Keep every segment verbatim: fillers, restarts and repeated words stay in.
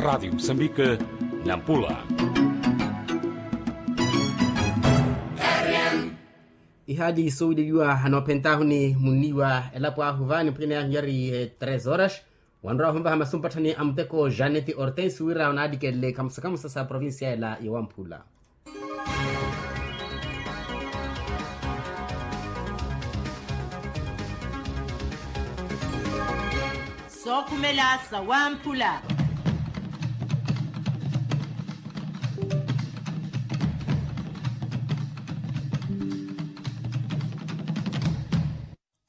Radi musambike, nampula. Ihaali soowileliwa anoophentaahu ni munniiwa elapo ahu vaani mpwene yaahu yari tres horas. Wanrowa ahunvaha masumpatthani a muteko janeti hortensi wira onaalikelele kamusa kamusa sa provincia ela yowamphula. Sookhumela sawamphula.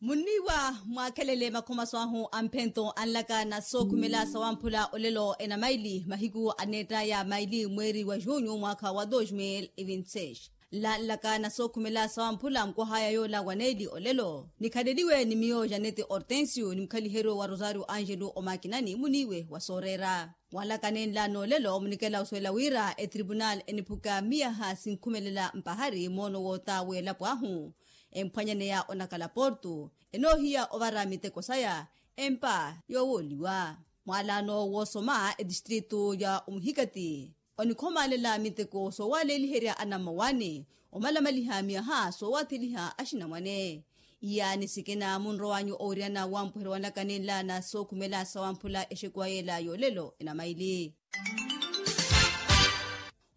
Munniiwa mwaakhelele makhomaso ahu a mphento anlaka na sookhumela sawamphula olelo enamaili mahiku aneettaya maili mweeri wa junyu mwaakha wa dos mil e vinte seis. Lanlaka na sookhumela sawamphula nkwahaya yoola wa neeli olelo nikhaleliwe ni miyo janeti hortensio ni mukhaliheryo wa rosario angelo omakinani muniiwe wa sooreera. Mwalaka nenla noolelo munikela osuwela wira etripunal eniphuka miyaha sinkhumelela mpahari moono woota w'elapo ahu emphwanyaneya onakhala portu enoohiya ovara miteko saya empa yoowooliwa. Mwalaano woosoma etistritu ya omuhikati onikhomalela miteko soowaleeliherya anammawaani omalamaliha miyaha soowatheliha axinamwane. Iyaani sikina munrowanyu owiriyana wampweheryo wanlaka nenla na sookhumela sawamphula exekuwa yeela yoolelo enamaili.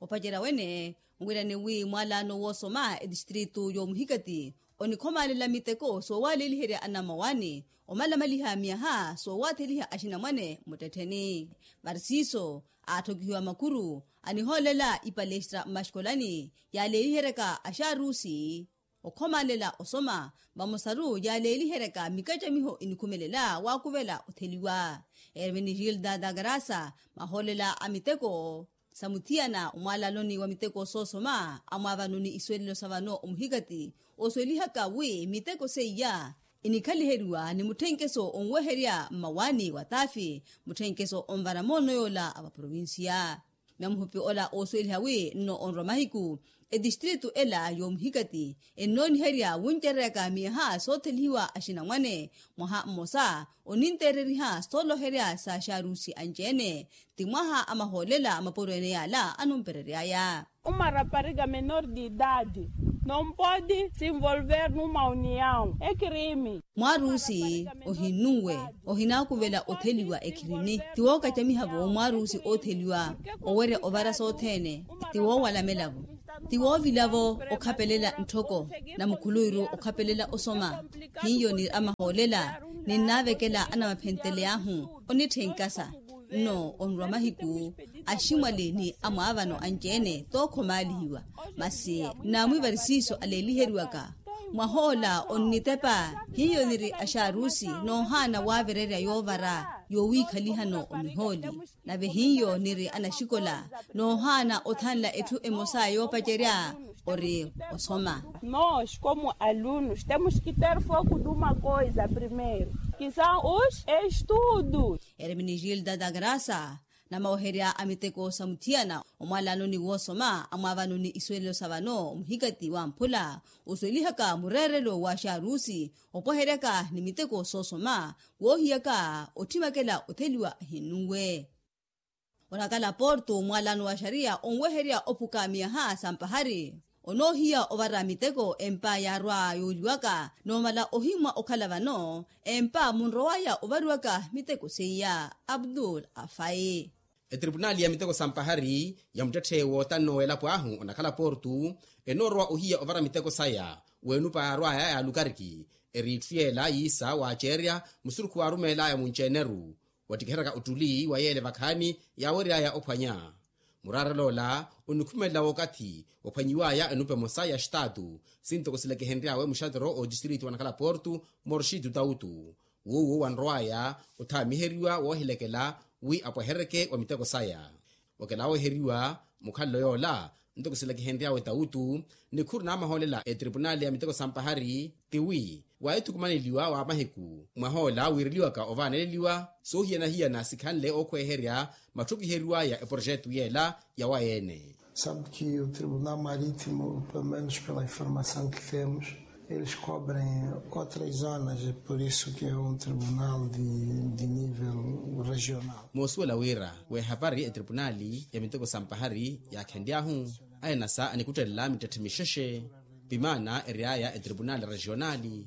Opacerya wene nwirani wi mwalaano woosoma etistritu yoomuhikati onikhomalela miteko soowaleeliherya anammawaani omalamaliha miyaha soowatheliha axinamwane muttettheni. Varisiiso aatthokihiwa makuru anihoolela ipalestra mmaxikolani yaaleeliheryaka axaarusi okhomalela osoma vamosaru yaaleeliheryaka mikacamiho inikhumelela waakuvela otheliwa. Ermenigilda dagrasa mahoolela a miteko sa muthiyana omwaalanoni wa miteko soosoma amwaavano ni isuwelelo sa vano omuhikati osuwelihaka wi miteko seiya inikhaliheriwa ni mutthenkeso onweherya mmawaani wa taafi mutthenkeso onvara moono yoola a vaprovinsiya. Myamuhupi ola oosuweliha wi nno onrwa mahiku etistritu ela yoomuhikati ennooniherya wuncereryaka miyaha soothelihiwa axinamwane mwaha mmosa oninteereriha sooloherya sa xaarusi anci-ene ti mwaha a mahoolela a mapuro-ene yaala anumpereryaya. Uma rapariga menor de idade não pode se envolver numa união é crime. Mwaarusi ohinnunwe ohinaakuvela otheliwa ekhirini ti wookacamiha-vo mwaarusi ootheliwa owerya ovara sothene ti woowalamela-vo ti woovila-vo okhapelela ntthoko na mukhuluwiru okhapelela osoma hiyo ni amahoolela ninnaavekela anamaphentele ahu onitthenka sa nno onrwa mahiku aximwali ni amwaavano anci-ene tookhomaalihiwa masi nnaamwivari siiso aleeliheriwaka mwahoola onnitepa hiyo niri axaarusi noohaana waavererya yoovara yowiikhalihano omihooli nave hiyo niri anaxikola noohaana othanla etthu emosa yoopacerya ori osoma. Nos como alunos temos que ter foco de uma coisa primeiro que são os estudos. Hermenegilda da graça namaweherya a miteko sa muthiyana omwalaanoni woosoma amwaavano ni isuwelelo sa vano muhikati wa mphula osuwelihaka mureerelo wa xaarusi opweheryaka ni miteko soosoma woohiyaka otthimakela otheliwa ahinnunwe. Onakala porto mwalaano wa xariya onweherya ophuka miyaha sa mpahari onoohiya ovara miteko empa yaarwa yooliwaka noomala ohimwa okhala vano empa munrowaya ovariwaka miteko seiya. Abdul afai. Etripunali ya miteko sa mpahari ya muttetthe wootanno w'elapo ahu onakhala porto enoorowa ohiya ovara miteko saya weenupa yaarwaya yaalukariki eri itthu yeela yiisa waaceerya musurukhu waarumeelaya munci-eneru wattikiheryaka ottuli wa yeele vakhaani yaaweryaya ophwanya. Muraareloola onikhumelela wookathi waphwanyiwaya enupa emosa ya xitaatu sintoko silekehenry'awe muxatero otistritu wanakhala porto morxitu tautu wuuwo wanrowaya othaamiheriwa woohilekela wi apweheryeke wa miteko saya. Okela wooheriwa mukhalelo yoola ntoko silakihenry'awe tawutu nikhuru naamahoolela etripunali ya miteko sa mpahari tiwi waahithukumaneliwa wa mahiku mwahoola wiireliwaka ovaaneleliwa soohiyana-hiyana sikhanle ookhweeherya matthukiheriwaya eprojetu yeela yawaye-ene. Sabe que o tribunal marítimo pelo menos pela informação que temos Eles cobrem outras zonas, é por isso que é um tribunal de, de nível regional. Moosuwela wira w'ehapari etripunaali ya miteko sa mpahari yaakhenly'ahu, ainasa anikuttelela mittetthe mixexe. Pimaana ery'aya etripunaali regionaali.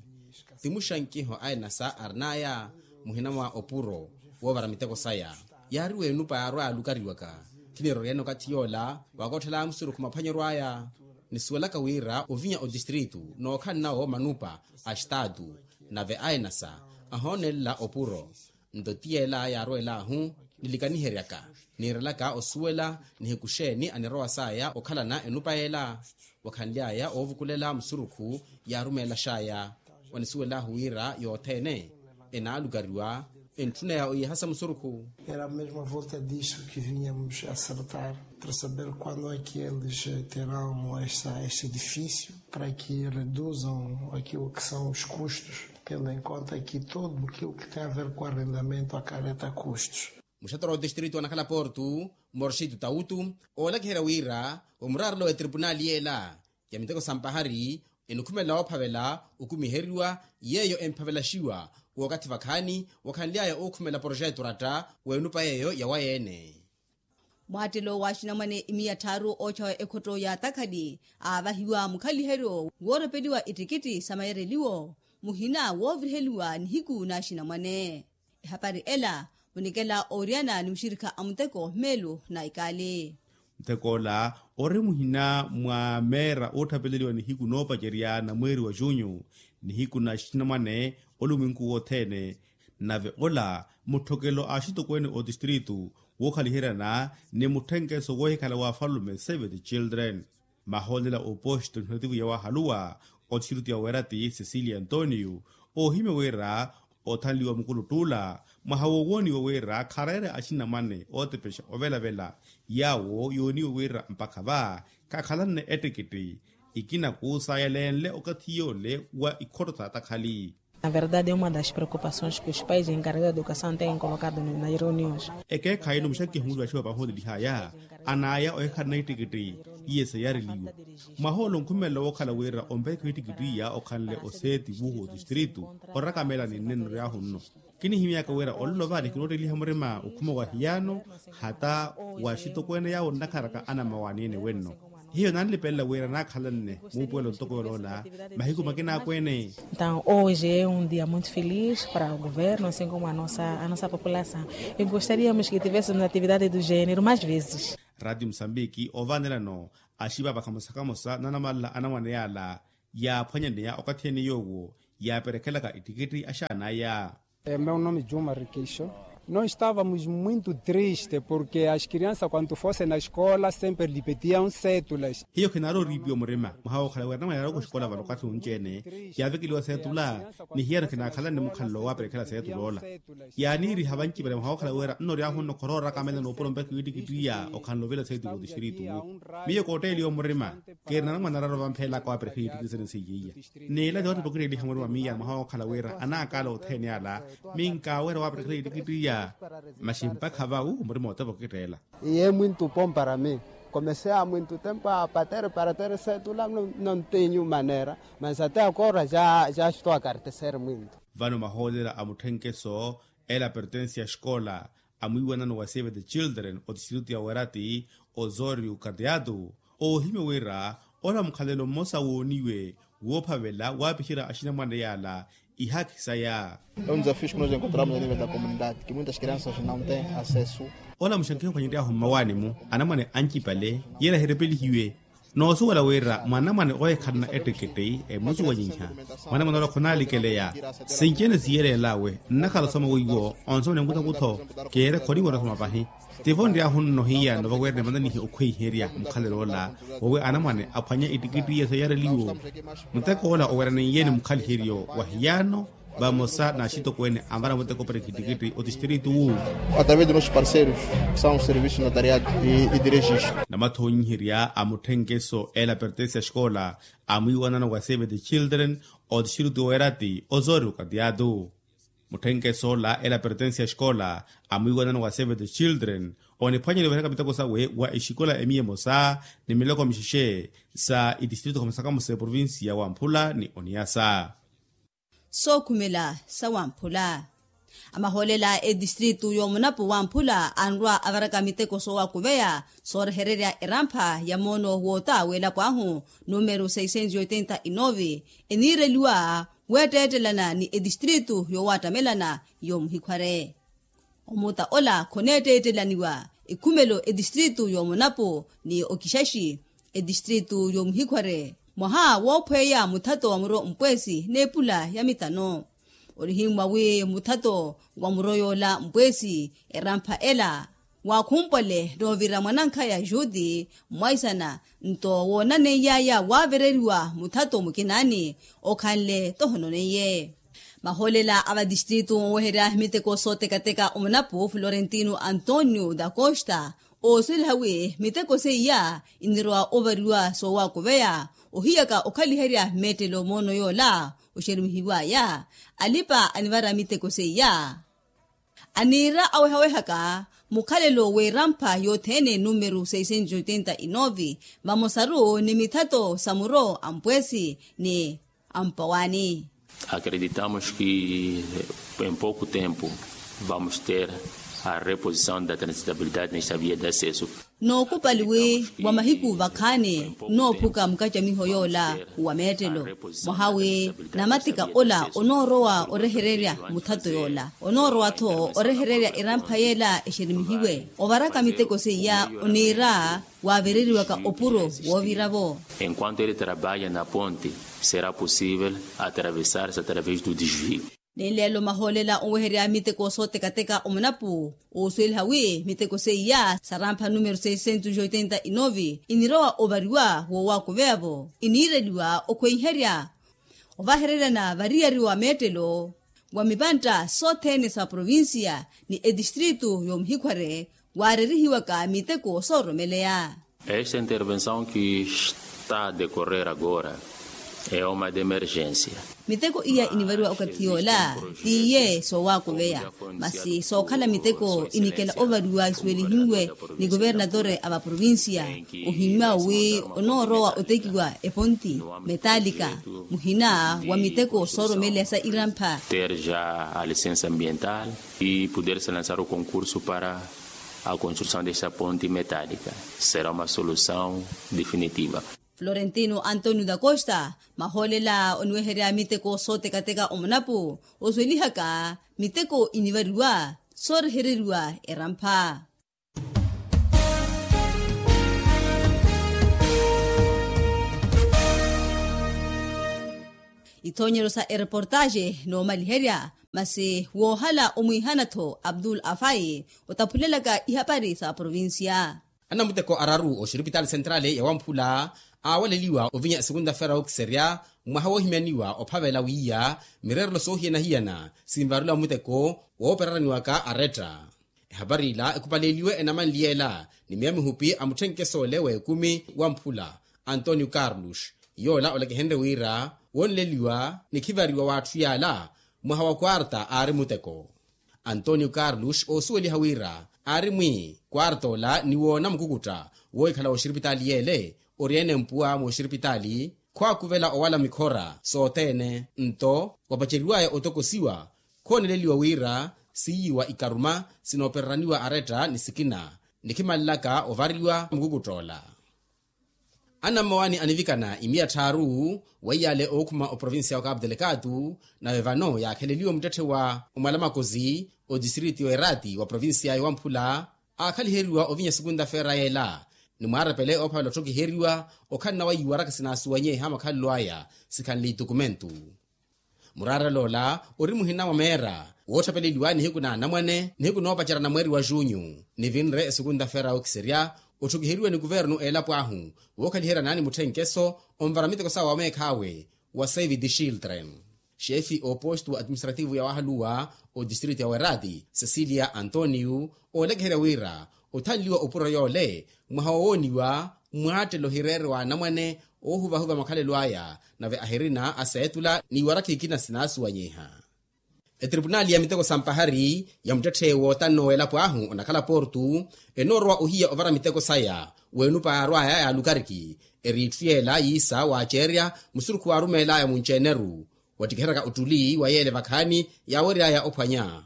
Ti muxankiho ainasa arin'aya muhina mwa opuro woovara miteko saya. Yaari w'enupa yaarwa yaalukariwaka. Khiniroryene okathi yoola wakootthela musurukhu maphwanyeryo aya. Nisuwelaka wira ovinya otistritu nookhalana wo manupa a estatu, nave ainasa ahoonelela opuro. Nto ti yeela yaarwelahu nilikaniheryaka, niirelaka osuwela nihiku xeeni anirowa saya okhalana enupa yeela. Wakhanly'aya oovukulela musurukhu yaarumeelax'aya. Wanisuwelahu wira yothene enaalukariwa entthuneya oyiihasa musurukhu. Era mesmo a volta disso que vinhamos acertar para saber quando é que eles terão essa, esse edifício para que reduzam aquilo que são os custos, tendo em conta que todo aquilo que tem a ver com arrendamento acarreta custos. Muxatora wa otistritu anakhala portu, morxitu tawutu, oolakiherya wira omuraarelo wa etripunaali yeela ya miteko sa mpahari enikhumela woophavela okumiheriwa, yeeyo emphavelaxiwa w'okathi vakhaani wakhanly'aya ookhumela poroxetu oratta w'enupa yeeyo yawayeene. Mwaattelo w'axinamwane imiya tthaaru oocha ekhotto ya takhali aavahiwa mukhaliheryo woorepeliwa ittikitthi sa mayareliwo muhina wooviriheliwa nihiku n'axinamwane. Ehapari ela munikela ooriyana ni muxirikha a muteko meelo na ikaali. Muteko ola ori muhina mwa meera oottapeleliwa nihiku noopacerya na mweeri wa junyu nihiku na axinamwane olumwinku wothene. Nave ola mutthokelo a axitokweene otistritu wookhaliheryana ni mutthenkeso woohikhala wa afalume save the children. Mahoolela oposto nihilativu yawahaluwa otistritu ya weerati cecilia antonio oohimya wira othanliwa mukulutt'ula mwaha woowooniwa wira khareere axinamwane ootepexa ovelavela yaawo yooniwa wira mpakha va khakhalanne ettikitti ikina kuusayelenle okathi yoole wa ikhotto sa takhali. Na verdade é uma das preocupações que os pais encarregados da educação têm colocado nas reuniões. Ekeekhayi no muxakiho muli vaxiwa vahoolelihaya anaya ohikhalana ittikitti iye seyareliwa mwaha ole onkhumelela wookhala wira omperekhiwa ittikitti iya okhanle oseeti vuhu otistritu orakamela ni nnenno ryaahu nno. Kinihimyaka wira ololo vale kinootteliha murima okhuma wa hiyano hata wa axitokweene yaawo nnakharaka anammawaani ene wenno. Hiyo nanlipelela wira naakhalanne muupuwelo ntoko yoloola mahiku makina akweene. Então hoje é um dia muito feliz para o governo assim como a nossa a nossa população. E gostaríamos que tivéssemos atividade do género mais vezes. Ratio musambiki oovanelano axiva vakhamosa-khamosa nanamala anamwane yaala yaaphwanyaneya okathi ene yoowo yaaperekhelaka ittikitti axaanaya. Meu nome juma rikeixo. Nós estávamos muito triste porque as crianças quando fossem na escola sempre lhe pediam cédulas. Hiyo khinaari oriipiwa murima mwaha wookhala wira namwane yaari oxikola vano okathi onci-ene yaavekeliwa seetula ni hiyano khinaakhalanne mukhalelo waaperekhela seetula ola. Yaaniiriha vancipale mwaha wookhala wira nno oryaahu nno khoroora akamela noopuro mpekha wiittikittiya okhanle ovela seetula otistritu. Miyo kootteeliwa murima kiiri nanamwane araaro vampheelaka waaperekhela ittikitti sene seiya iya. N'ila ni ottipokitteeliha murima miya mwaha wookhala wira anaakaala othene ala minkaawerya waaparekhela ittikittiya. Maxi mpakha vawu murima ottipokitteela. Iye mwintu pompara mi komesea mwintu tempo a patere para tere setula. Nontenyu manera mas ate akoora ja ja xito akartesere mwintu. Vano mahoolela a mutthenkeso ela pertensi ya xikola amwiiwanano wa save the children otistritu ya werati osorio kateatu. Oohimya wira ola mukhalelo mmosa wooniwe woophavela waapixerya axinamwane yaala ihaakhi saya. Ola muxankiho ophwanyery'ahu mmawaani-mu anamwane ancipale yeela ehirepelihiwe. Noosuwela wira mwanamwane oohikhalana ettekette emusuwanyiha mwanamwane ola khonaalikeleya. Sinci-ene siiyeleel'awe nnakhala osoma weiwo onsoma ni nkutakutho. Keere khoniwerya osoma pahi. Tivo nryaahu nno hiyano vawerene vananihi okhweiherya mukhalelo ola wowi anamwane aphwanya ittikittiya seyareliwo. Muteko ola oweraniye ni mukhaliheryo wa hiyano vamosa n'axitokweene anvara muteko operekha ittikitti otistritu wu. Através de nossos parceiros que são o serviço notariado e de registro. Namathoonyiherya a mutthenkeso ela pertensi a xikola amwiiwanano wa save the children otistritu werati osorio kateatu. Mutthenkeso ola ela pertensi ya xikola amwiiwanano wa save the children oniphwanya niweheraka miteko sawe wa exikola emiya emosa ni miloko mixexe sa itistrito khamosa khamosa eprovinsiya wamphula ni oniyasa. Sookhumela sa wamphula. Amahoolela a etistritu y'omunapu wamphula anrwa avaraka miteko soowakuveya soorehererya erampha ya moono woota w'elapo ahu numeru seiscentos oitenta e nove eniireliwa weetteettelana ni etistritu yoowattamelana y'omuhikhware. Omuta ola khoneetteettelaniwa ekhumelo etistritu y'omunapu ni okixaxi etistritu y'omuhikhware mwaha woophweya muthato wa muro mpweesi n'epula ya mitano. Onihimmwa wi muthato wa muro yoola mpweesi erampha ela waakhumpwale noovira mwanankhaya juti mwaisana nto woonaneiyaaya waavereriwa muthato mukinaani okhanle tohononeiye. Mahoolela a vatistritu oweherya miteko sootekateka omunapu florentino antonio da costa oosweliha wi miteko seiya inirowa ovariwa soowakuveya ohiyaka okhaliherya mmeettelo moono yoola oxerumihiwaya alipa anivara miteko seiya aniira awehawehaka mukhalelo w'erampha yothene numeru seiscentos oitenta e nove vamosaru ni mithato sa muro a mpweesi ni a mpawaani. Acreditamos que em pouco tempo vamos ter a reposição da transitabilidade nesta via de acesso. Nookupali wi wa mahiku vakhaani noophuka mukacamiho yoola wa meettelo mwaha wi namatika ola onoorowa orehererya muthato yoola onoorowa-tho orehererya erampha yeela exerimihiwe ovaraka miteko seiya oniira waavereriwaka opuro woovira-vo. Enquanto ele trabalha na ponte será possível atravessar-se através do desvio. Ni nleelo mahoolela oweherya miteko sootekateka omunapu oosuweliha wi miteko seiya sarampha numeru seiscentos oitenta e nove inirowa ovariwa woowakuveya-vo iniireliwa okhweiherya ovahereryana variyari wa meettelo wa mipantta sothene sa provincia ni etistritu y'omuhikhware waarerihiwaka miteko sooromeleya. Esta intervenção que está a decorrer agora é uma de emergência. Miteko iya inivariwa okathi yoola tiiye soowakuveya masi sookhala miteko inikela ovariwa isuwelihiwe ni kuvernatore a vaprovincia ohimmya wi onoorowa otekiwa eponti metalika muhina wa miteko sooromeleya sa irampha. Ter já a licença ambiental e poder se lançar o concurso para a construção desta ponte metálica será uma solução definitiva. Florentino antonio da costa mahoolela oniweherya miteko sootekateka omunapu osuwelihaka miteko inivariwa soorehereriwa erampha. Ithoonyeryo sa ereportaxe noomaliherya masi woohala omwiihana-tho abdul afai otaphulelaka ihapari sa provincia. Anamuteko araru oxiripitaali sentrali ya wamphula aawaleliwa ovinya esukunta fera okiserya mwaha woohimyaniwa ophavela wiiya mireerelo soohiyana-hiyana sinvareliwa muteko woopereraniwaka aretta. Ehapari ila ekupaleliwe enamanliyela ni miya mihupi a mutthenkeso ole w'ekumi wamphula antonio carlos yoola olekehenrye wira woonleliwa ni khivariwa w'atthu yaala mwaha wa kwarta aari muteko. Antonio carlos oosuweliha wira aari mwi kwarta ola ni woona mukukutta woohikhala w'oxiripitaali yeele ori-ene mpuwa mooxiripitaali khwaakuvela owala mikhora sothene nto wapaceriwaya otokosiwa khooneleliwa wira siiyiwa ikaruma sinoopereraniwa aretta ni sikina nikhimalelaka ovariwa mukukutta ola. Anammawaani anivikana imiya tthaaru weiyale ookhuma oprovincia wa capu delicatu nave vano yaakheleliwe muttetthe wa omwalamakosi otistriti y'oerati wa provincia y'owamphula aakhaliheriwa ovinya esukunta feera yeela ni mwaarepele oophavela otthokiheriwa okhalana wa iwaraka sinaasuwanyeha makhalelo aya sikhanle itukumentu. Muraareloola ori muhina mwa meera woottapeleliwa nihiku na anamwane nihiku noopacerya na mweeri wa junyu nivinre esukunta feera ookiserya otthukiheriwe ni kuvernu eelapo ahu wookhaliheryana ni mutthenkeso onvara miteko sawe wa meekhaawe wa save the children. Xeefi oopostu wa atiministrativu ya wahaluwa otistrito ya werati cecilia antonio oolekeherya wira othanliwa opuro yoole mwaha wowooniwa mwaattelo hireere wa anamwane oohuvahuva makhalelo aya nave ahirina aseetula n'iwarakha ikina sinaasuwanyiha. Etripunali ya miteko sa mpahari ya muttetthe wootanno w'elapo ahu onakhala portu enoorowa ohiya ovara miteko saya w'enupa yaarwaya ya lukariki. Eri itthu yeela yiisa waaceerya musurukhu waarumeel'aya munci-eneru wattikiheryaka ottuli wa yeele vakhaani yaawery'aya ophwanya.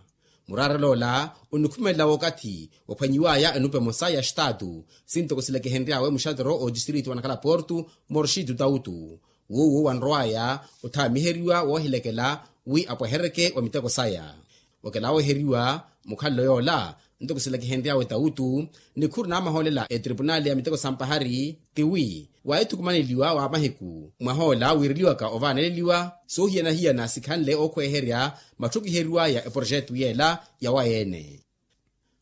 Muraarel'ola onikhumelela w'okathi waphwanyiw'aya enupa emosa ya xitaatu sintoko silekehenry'awe muxatero otistrito wa nakhala portu morxitu tautu. Wuwo wanrow'aya othaamiheriwa woohilekela wi apweheryeke wa miteko saya. Okela wooheriwa mukhalelo yoola ntoko silakihenry'awe tawutu nikhuru naamahoolela etripunali ya miteko sa mpahari ti wi waahithukumaneliwa wa mahiku mwahoola wiireliwaka ovaaneleliwa soohiyana-hiyana sikhanle ookhweeherya matthukiheriw'aya eproxetu yeela yawaye-ene.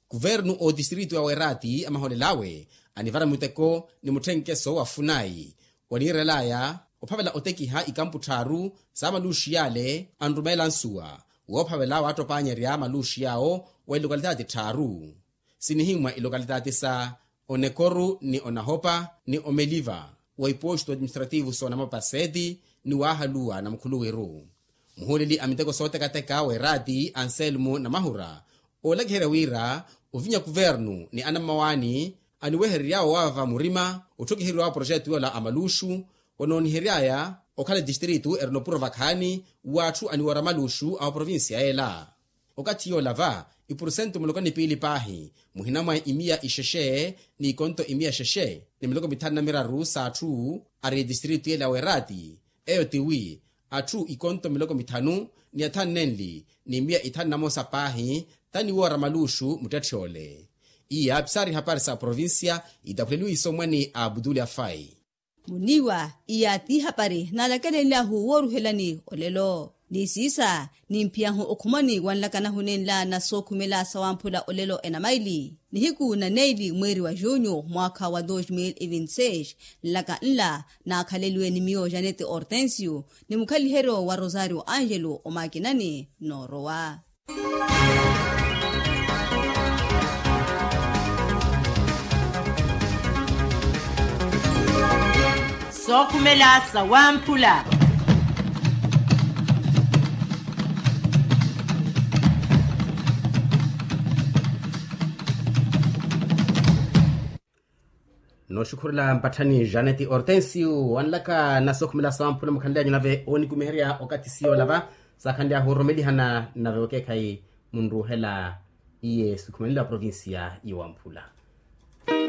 Kuvernu otistrito ya werati amahoolel'awe anivara muteko ni mutthenkeso wa funayi waniirel'aya ophavela otekiha ikampu tthaaru sa maluuxi yale anrumeela nsuwa woophavela waattopanyerya maluuxi yaawo wa ilokalitati tthaaru sinihimmwa ilokalitati sa onekoru ni onahopa ni omeliva wa iposto administrativo s'onamapaseti ni waahaluwa na mukhuluwiru. Muhuuleli a miteko sootekateka w'eraati anselmo namahura oolakiherya wira ovinya kuvernu ni anammawaani aniweherery'awe owaavava murima otthokiheriwa wa proxeto yoola a maluuxu wanoonihery'aya okhala etistrito erina opuro vakhaani w'atthu aniwoora maluuxu a oprovincia yeela. Okathi yoola va ipursentu miloko ni piili paahi muhina mwa imiya ixexe ni ikonto imiya xexe ni miloko mithanu na miraru s'atthu ari etistrito yeela ya werati eyo ti wi atthu ikonto miloko mithanu ni athanu nenli ni miya ithanu na mosa paahi taniwoora maluuxu muttetthe ole. Iya pisari hapari sa provincia itaphuleliwe isomwani a abutuli afai. Muniiwa iya ti hapari naalakelenlyahu wooruhelani olelo ni siisa nimphiyahu okhumani wanlakanahu nenla na sookhumela sawamphula olelo enamaili nihiku na neili mweeri wa junyu mwaakha wa dos mil e vinti seis. Nlaka nla naakhaleliwe ni miyo janete hortensio ni mukhaliheryo wa rosario angelo omakinani noorowa. Sookhumela sawamphula. Nooxukhurela mpatthani janeti hortensio wanlaka na sookhumela sawamphula mukhanly'anyu nave oonikumiherya okathi siyoola va saakhanly'ahu oromelihana nave okeekhayi munruuhela iye sikhumanela provincia ya wamphula.